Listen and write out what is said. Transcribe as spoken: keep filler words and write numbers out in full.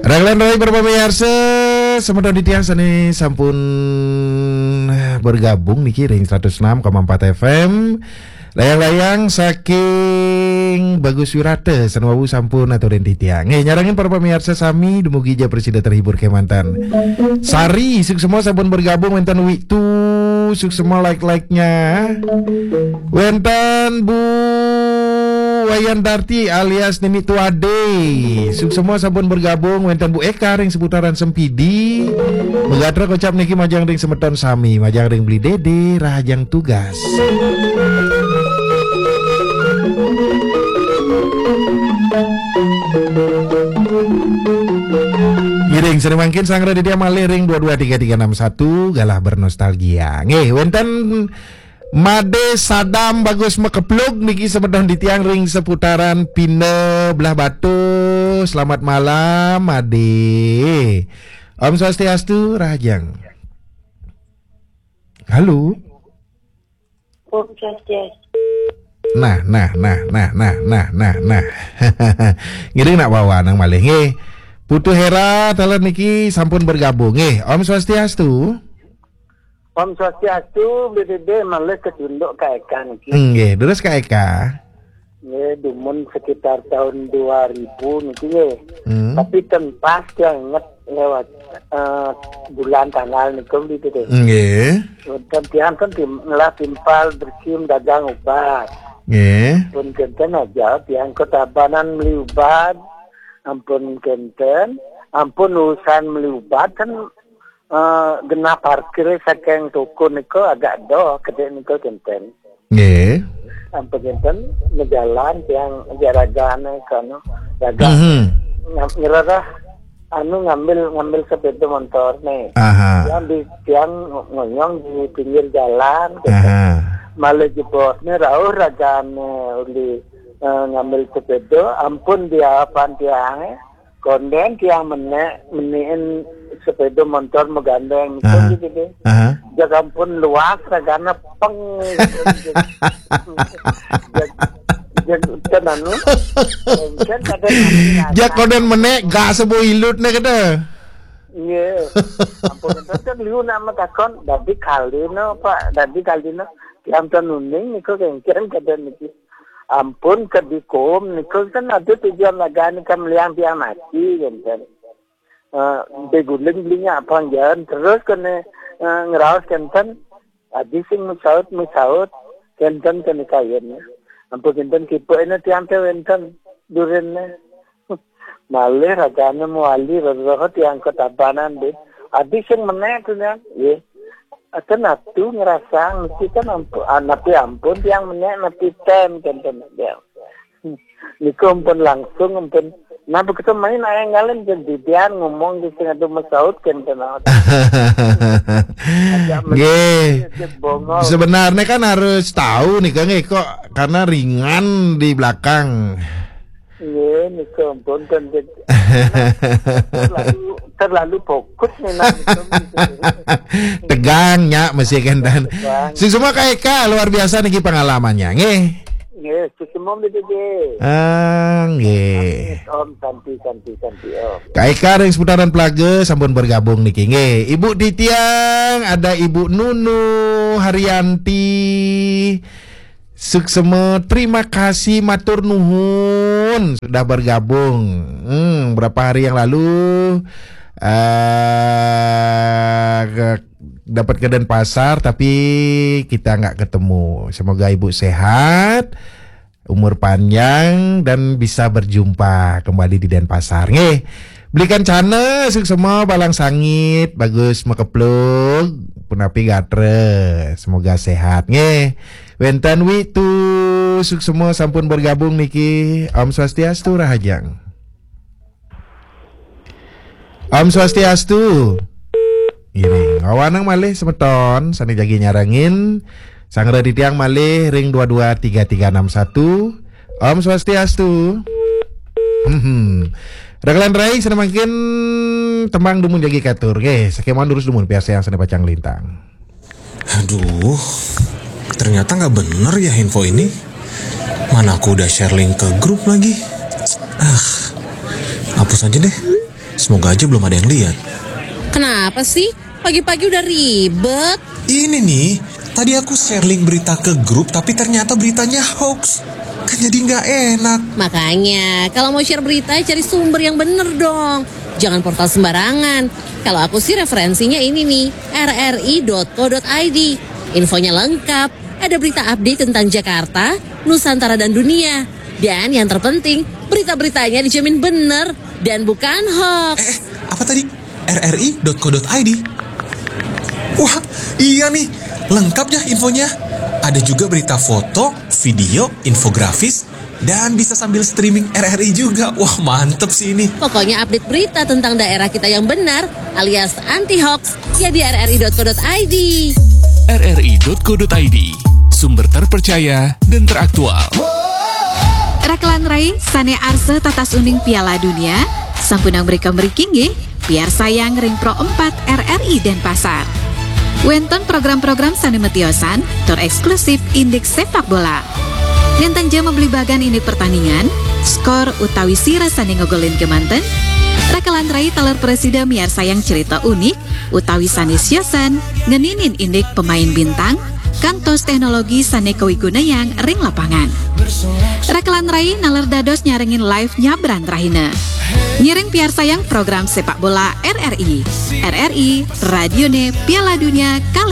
Raglan rai para pamiarsa, semeton titiang sane sampun bergabung niki ring seratus enam koma empat F M. Layang-layang saking Bagus Wirata sane wau sampun aturin titiang. Nggih, nyarengin para pamiarsa sami dumugi ja prasida terhibur kemanten. Sari, suksma sampun bergabung, wenten Witu, suksma like-like-nya. Wenten Bu Wayan Darti alias Nini Tuade. Suksma sampun bergabung, wenten Bu Eka ring seputaran Sempidi. Megatra kocap niki majeng ring semeton sami, majeng ring Beli Dede, rahajeng tugas. Ngiring sane mangkin sanggra dia malih ring dua dua tiga tiga enam satu, galah bernostalgia. Nggih, wenten Made Sadam Bagus Makeplug niki semeton titiang ring seputaran Pina Belah Batu. Selamat malam, Made. Om Swastiastu, rahajeng. Halo. Om Swastiastu. Nah, nah, nah, nah, nah, nah, nah, nah. Ngiring nak bawa nang malih nggih. Putu Hera taler niki sampun bergabung nggih. Om Swastiastu. Om Swastiastu, B B B malih ke tunduk Kak Eka niki. Nggih, terus Kak Eka. Nggih, dumun sekitar tahun dua ribu niki nggih. Hmm. Tapi ten pas tiang inget lewat eh, bulan tanggal niku gitu deh. Nggih. Dan tiang kan tim, ngelah timpal berkim dagang ubat. Nggih. Pun kenten aja tiang ketabanan beli ubat. Ampun kenten, ampun urusan beli ubat kan eh, genah parkir saking toko niku agak doh kedek niku kenten. Nggih. Ampun kenten, ngejalan tiang jaragane kono jaga. Mhm. Ngam-, ngerereh anu ngambil ngambil sepeda motor nih. Aha. Yang di tiang ngonyong di pinggir jalan gitu. Aha. Malah jebosnya rauh ragane uli eh, ngambil sepeda, ampun di hadapan tiange. Konden tiang menek menikin sepeda motor megandeng gitu. Aha. Gitu deh. Aha. Jaga ampun luas ragane peng gitu. Jag, jag, kan anu. Kan kadang anu. Jak konden menek gak sebo ilut ne kata. Iya. Ampun, kan liu nama takon, dadi kalino, Pak, dadi kalino. Tiang ten uning niku kengken kata niki. Ampun, kedikum niku kan ada tujuan lagane kan meliang tiang mati kan kan. Eh, beguling belinya apa jalan terus kene eh, ngeraos kenten. Adi sing mesaut mesaut kenten kene kayen. Ampun kenten kipuk ini tiang te wenten durin. Malih ragane mewali rereh tiang ketabanan deh. Adi sing menek tu nian. Ye. Aten atu ngerasang mesti kan ampun, ah, napi ampun tiang menek napi ten kenten dia. Niku ampun langsung ampun. Nah begitu main ayang ngalen jadi dia ngomong di sing adu mesaut kenten. Nggih. Bongol. Sebenarnya kan harus tahu nih Kang, eh, kok karena ringan di belakang. Nggih, niku ampun ten terlalu terlalu fokus nih nah. Tegang nya masih kenten. Tegang. Sing semua Kak Eka luar biasa niki pengalamannya nggih. Nggih, sing semua gitu nggih. Ah, nggih. Om santi santi santi om. Kak Eka ring seputaran Plaga sampun bergabung niki nggih. Ibu Titiang, ada Ibu Nunu Haryanti. Suksema, terima kasih, matur nuhun sudah bergabung. Hmm, berapa hari yang lalu eh dapat ke Denpasar tapi kita nggak ketemu. Semoga ibu sehat, umur panjang dan bisa berjumpa kembali di Denpasar. Nggih. Belikan cana, suksema, balang sangit, bagus makeplug, punapi gatra. Semoga sehat nggih. Wenten Witu, suksema sampun bergabung niki. Om Swastiastu, rahajeng. Om Swastiastu. Ngiring. Awanang malih semeton sane jagi nyarengin. Sanggra titiang malih ring dua dua tiga tiga enam satu. Om Swastiastu. Hmm. Raglan rai sane mangkin tembang dumun jagi katur. Nggih, sakemawon durus dumun piarsayang sane pacang lintang. Aduh, ternyata nggak bener ya info ini. Mana aku udah share link ke grup lagi. Ah, hapus Aja deh. Semoga aja belum ada yang lihat. Kenapa sih? Pagi-pagi udah ribet. Ini nih, tadi aku share link berita ke grup tapi ternyata beritanya hoax. Kan jadi nggak enak. Makanya, kalau mau share berita, cari sumber yang bener dong. Jangan portal sembarangan. Kalau aku sih referensinya ini nih, rri.co.id. Infonya lengkap, ada berita update tentang Jakarta, Nusantara dan dunia. Dan yang terpenting, berita-beritanya dijamin bener dan bukan hoax. Eh, apa tadi? rri.co.id. Wah, iya nih, lengkap ya infonya. Ada juga berita foto, video, infografis, dan bisa sambil streaming RRI juga. Wah, mantep sih ini. Pokoknya update berita tentang daerah kita yang benar alias anti hoax ya di rri.co.id. rri.co.id, sumber terpercaya dan teraktual. Rakelan rai, sane arseh tatas uning Piala Dunia, sampunang mrika mriki nggih, piarsayang ring Pro empat RRI Denpasar. Wenten program-program sane metiosan tur eksklusif indik sepak bola. Nenten ja mabli bagan indik pertandingan, skor utawi sira sane ngogolin kemanten, rakelan rai taler presida miarsayang cerita unik utawi sane siosan ngeninin indik pemain bintang, kantos teknologi sane kawigunayang ring lapangan. Rakelan rai naler dados nyarengin live nyabran rahina. Ngiring piarsayang program sepak bola RRI. RRI, radione Piala Dunia kali